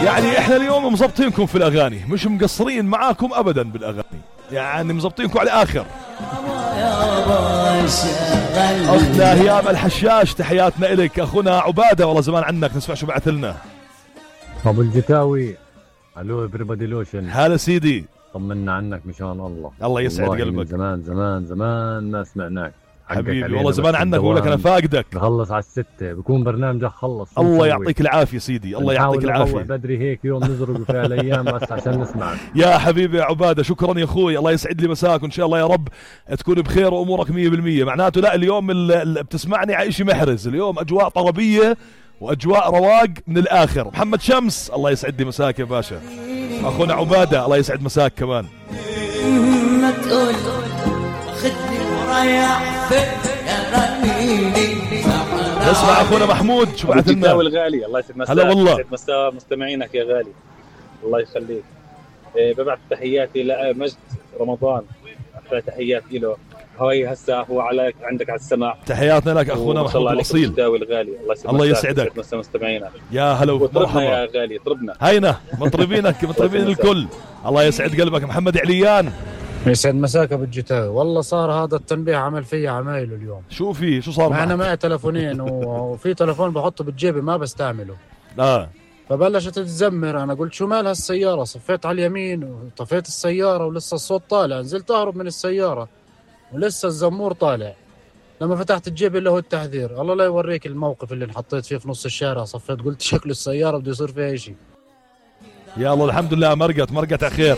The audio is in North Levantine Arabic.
يعني احنا اليوم مزبطينكم في الاغاني، مش مقصرين معاكم ابدا بالاغاني، يعني مزبطينكم على الاخر. اختنا هيام الحشاش تحياتنا الك. اخونا عباده والله زمان عنك، نسمع شو بعث لنا. ابو الجكاوي، الو everybody لوشن. هلا سيدي، طمنا عنك مشان الله. الله يسعد قلبك. زمان زمان زمان ما سمعناك حبيبي، والله زمان عنك، بقول لك انا فاقدك. بخلص على 6 بكون برنامجك خلص. الله يعطيك العافيه سيدي، الله يعطيك العافيه. بدري هيك يوم نزرق في الايام بس عشان نسمعك. يا حبيبي يا عباده، شكرا يا اخوي، الله يسعد لي مساك، وان شاء الله يا رب تكون بخير وامورك 100%. معناته لا اليوم اللي بتسمعني على شيء محرز، اليوم اجواء طربيه واجواء رواق من الاخر. محمد شمس الله يسعد لي مساك يا باشا. اخونا عباده الله يسعد مساك كمان. ما تقول خدني ورايح اسمع اخونا محمود شو بعث لنا. الغالي الله يسعد مساك. هلا والله. يسعد مساء مستمعينك يا غالي، الله يخليك. ببعث تحياتي لمجد رمضان، احلى تحيات له. هاي هسه هو عليك عندك على السماع. تحياتنا لك اخونا محمود الاصيل. الغالي الله يسعدك. مساء مستمعينا. يا هلا ومرحبا يا غالي. طربنا هينا مطربينك مطربين الكل. الله يسعد قلبك. محمد عليان يسعد مساك ابو الجتاوي. والله صار هذا التنبيه عمل فيا عمايله اليوم. شو في شو صار معك؟ انا معي تلفونين وفي تلفون بحطه بالجيبه ما بستعمله. فبلشت تزمر. انا قلت شو مال هالسياره؟ صفيت على اليمين وطفيت السياره ولسه الصوت طالع. نزلت اهرب من السياره ولسه الزمور طالع. لما فتحت الجيب اللي هو التحذير، الله لا يوريك الموقف اللي انحطيت فيه في نص الشارع. صفيت قلت شكله السياره بده يصير فيها شيء. يا الله الحمد لله مرقت على خير.